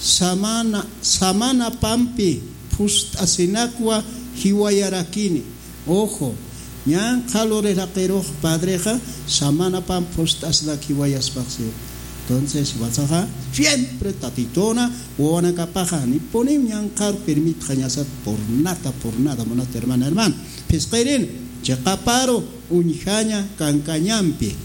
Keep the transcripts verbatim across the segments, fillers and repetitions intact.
samana samanapampi phust'asinakwa jiwayarakini. Ojo, ñan qhaluri raqirux padrexa samanapampi phust'asinak jiwayaspaxsiw. Entonces jiwasaxa siempre tatituna wawanakapaxa nipuniw ñanqhar permitxañasat por nada por nada munat hermana hermana. Phisqirin chiqaparu uñjaña kankañampi,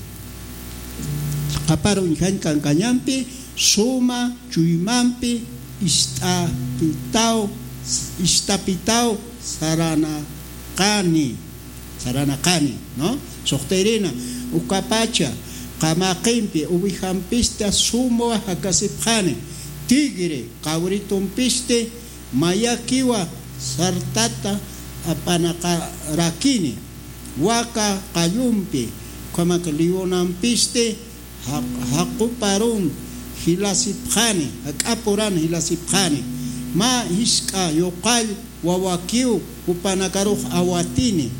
chiqaparu uñjañ kankañampi suma chuymampi ist'apitaw ist'apitaw saranaqani, saranaqani, ¿no? Suxtirina ukapacha qamaqimpi ovejampisti sumwa jakasipxani, tigre cabritompisti mayakiwa sartata ap'anaqarakini, waka qallumpi ukhamak leonampisti jaq- jaquparun jilasipxani, jak'apuran jilasipxani, mä jisk'a yuqall wawakiw jupanakarux awatini.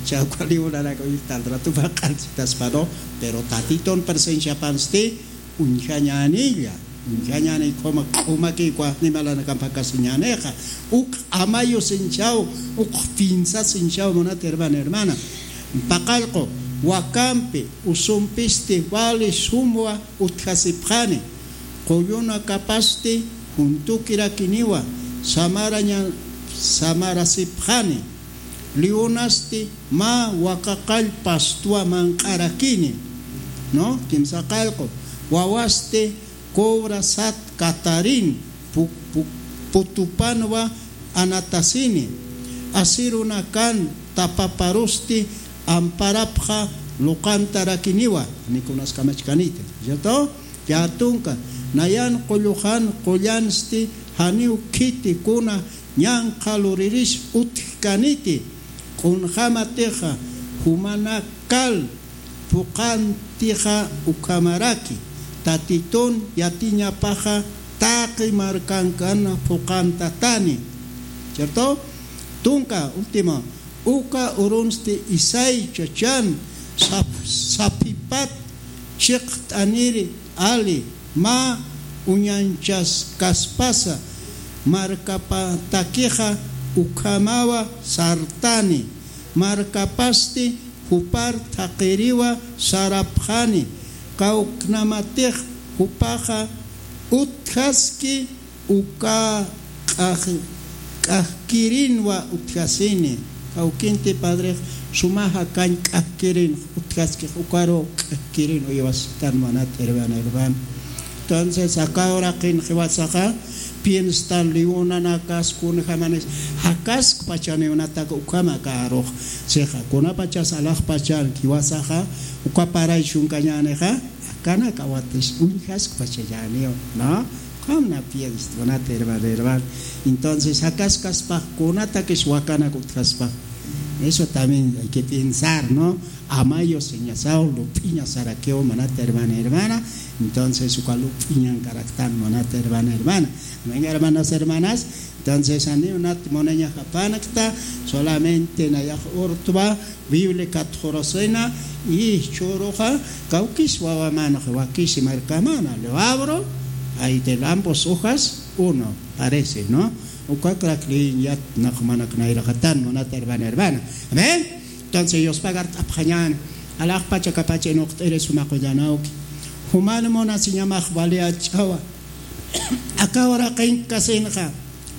Chawka leonanak uñjtal ratupa q'alchitaspa, ¿no? Pero tatitun presenciapansti uñjañänilla, uñjañäni ukhama q'umakiw animalanakamp jakasiñänixa. Uk amayu sinchaw, uk pinsa sinchaw munat hermana hermana. Paqallqu wakampi usumpisti wali sumwa utjasipxani, qullunakapasti juntukirakiniwa samaraña samarasipxani, leonasti mä wakaqall pastwa manq'arakini, ¿no? Kimsa qallqu wawasti cobra sat katarin pu- pu- putupanwa anatasini, asirunakan tapaparusti amparapxa luqantarakiniwa, ni kunas kamachkaniti, ¿cierto? Yä tunka nayan qulluxan qullansti janiw khiti kuna ñan qhaluriris utjkaniti, kunjämatixa jumanakal phuqantixa ukhamaraki tatitun yatiñapaxa taqi markankan phuqantatani, ¿cierto? Tunka último uka urunsti isay chachan sap- saphipat chiqt'aniri ali mä uñanchaskaspasa markapatakixa ukhamawa sartani, markapasti jupar thaqiriwa sarapxani, kawknamatix jupaxa utjaski uka k'aj- k'ajkirinwa utjasini. Kawkinti padrex suma jakañ k'ajkirin utjaskix ukaru k'ajkirin uywastan munat hermana hermana. Entonces aka uraqin jiwasaxa pienstan leonanakas kunjamanis jakaskpachaniw natak ukhama karux sixa kunapachas alaxpachan jiwasaxa uka paray chunkañänixa akanak awatis uñjaskpachallaniw, ¿no? Ukham na piensa munat hermana hermana. Entonces jakaskaspax kunatakis wakanak utjaspax, eso también hay que pensar, ¿no? Amayu siñasaw lup'iñasarakiw munat hermana hermana. Entonces uka lup'iñankaraktan munat hermana hermana. Amén hermanas hermanas. Entonces janiw nat munañaxapanakta, solamente nayax urtwa biblia katxurusina y chhuruxa kawkis wawamanxa wakisi markamana lo abro, ahí de ambos hojas uno parece, ¿no? Ukakrak liñ yat naqmanak nayraqatan munat hermana hermana. Amén. Entonces yuspagart'apxañäni alaxpach akapacha inuqt'iri suma qullanawki, juman munasiñamax wali ach'awa. Aka uraqinkasinxa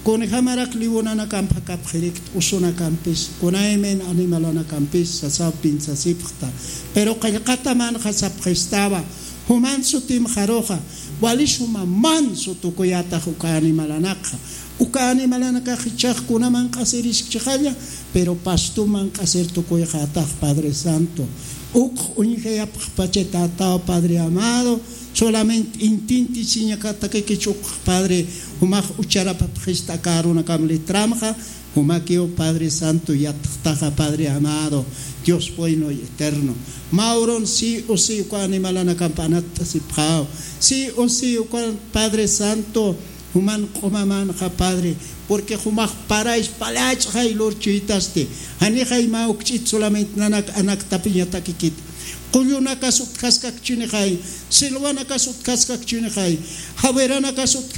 kunjamarak leonanakamp jakapxirikta usunakampis kunaymin animalanakampis sasaw piensasipxta. Pero qillqatamanxa sapxistawa, juman sutimxaruxa wali suma mansu tukuyatax uka animalanakxa. Uka animalanakax jichhax kuna manq'asiriskchixalla, pero pastu manq'asir tukuyxatax padre santo. Uk uñjayapxpachatataw padre amado. Solamente intintisiñakatakikich uk padre jumax ucharapapxista aka arunakam litramxa. Jumakiw padre santo yatxtaxa padre amado, dios bueno y eterno. Mä urun si usi uka animalanakamp anatt'asipxaw. Si usi uka padre santo juman q'umamanxa padre, porque jumax paray pala ach'xay lurchuytasti. Janixay mä ukch'it solamente nanak anaktapiñatakikit. Qullunakas utjaskakchinixay, silwanakas utjaskakchinixay, jawiranakas utjas